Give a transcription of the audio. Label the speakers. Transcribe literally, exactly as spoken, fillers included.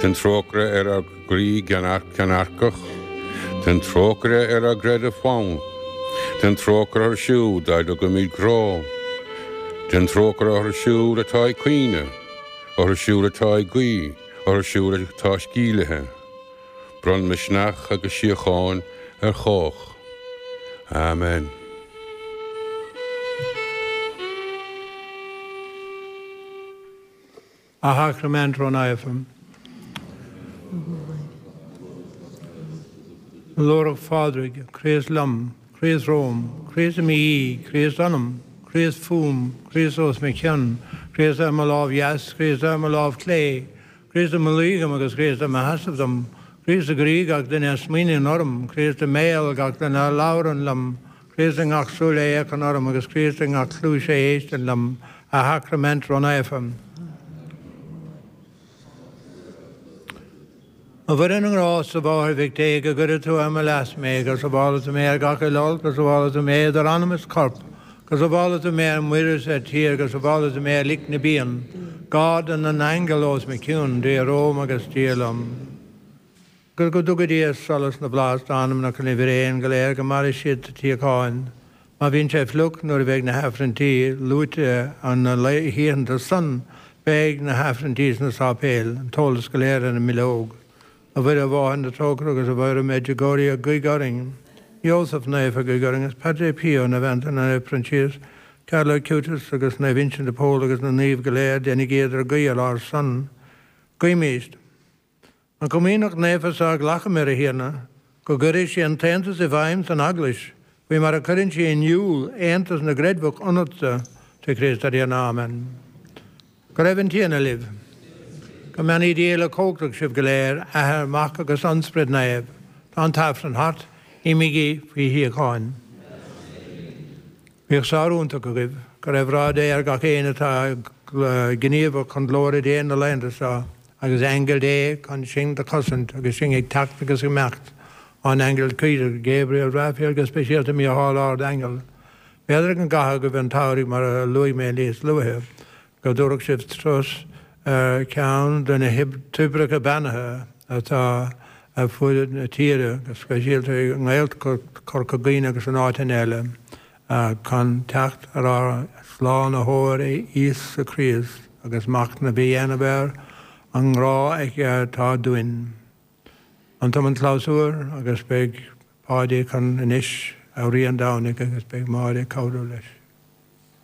Speaker 1: Déan trócaire ar ár gcroí ceannairceach, Déan trócaire ar ár gcreideamh fann, Déan trócaire orthu siúd dá dtugaimid grá, Déan trócaire orthu siúd atá ag caoineadh, orthu siúd atá ag guí, orthu siúd atá sceimhlithe. Bronn misneach agus síocháin ar chách. Amen.
Speaker 2: A Shacraimint Rónaofa. Glórach Phádraig, Críost liom, Críost romham, Críost i mo dhiaidh, Críost ionam, Críost fúm, Críost os mo chionn, Críost ar mo lámh dheas, Críost ar mo lámh chlé, Críost i mo luí dom agus Críost i mo sheasamh dom, Críost i gcroí gach duine a smaoiníonn orm, Críost i mbéal gach duine a labhrann liom, Críost i ngach súil a fhéachann orm agus Críost i ngach cluais a éisteann liom, a Shacraimint Rónaofa. A Mhuire na nGrást, a Mháthair Mhic Dé, go gcuire tú ar mo leas mé, go sábhála tú mé ar gach uile olc, go sábhála tú mé idir anam is corp, go sábhála tú mé ar muir is ar tír, go sábhála tú mé ar lic na bpian. Garda na n-aingeal os mo chionn, Dia romham agus Dia liom. Go dtuga Dia solas na bhflaitheas d'anamnacha na bhfíréan go léir go maire siad sa tsíocháin. Má bhíonn sé fliuch nuair a bheidh na hAifrinntí luaite an na hoícheanta san, beidh na hAifrinntí sna sáipéil, an t-eolas go léir ar an mbileog. A Mhuire, a Mháthair na Trócaire agus a Mhuire Medjugorje, guigh orainn. Iósaf Naofa, guigh orainn, agus Padre Pio, Naomh Antaine, Naomh Proinsias, Carlo Acutis agus Naomh Uinseann de Pól agus na naoimh go léir, déanaigí idir guí ar ár son. Guímid. An Chomaoineach Naofa seo a ghlacamar, a Thiarna, go gcuire sí an t-aontas i bhfeidhm san Eaglais, faoi mar a chuireann sí in iúl aontas na gcreidmheach ionatsa, trí Chríost ár dTiarna. Amen. Go raibh an Tiarna libh. Go mbeannaí Dia uilechumhachtach sibh go léir, Athair, Mac agus an Sprid Naomh. Tá an tAifreann thart, imígí faoi shíocháin. Bíodh sár iontach agaibh. Go raibh rath Dé ar gach éinne atá gníomhach chun glóire Dé na laethanta seo, agus aingil Dé chun sinn do chosaint agus sinn ag teacht agus ag imeacht, ár n-aingeal coimhdeach, Gabriel, Raphael, go speisialta Mícheál Ard-Aingeal. B'fhéidir go gcaithfidh agaibh an tsamhraidh mar a luaigh mé níos luaithe, go dtabharfadh sibh turas ar cheann de na toibreacha beannaithe atá ar fuaid na tíre, go speisialta i nGaeltacht Chorca Dhuibhne agus in áiteanna eile, chun teacht ar ár Slánaitheoir Íosa Críost agus machnamh a dhéanamh ar an ngrá aige atá dúinn. An t-am an clabhsúr agus beidh Páidí chun anois a Rí an Domhnaigh agus beidh Máire ag cabhrú leis.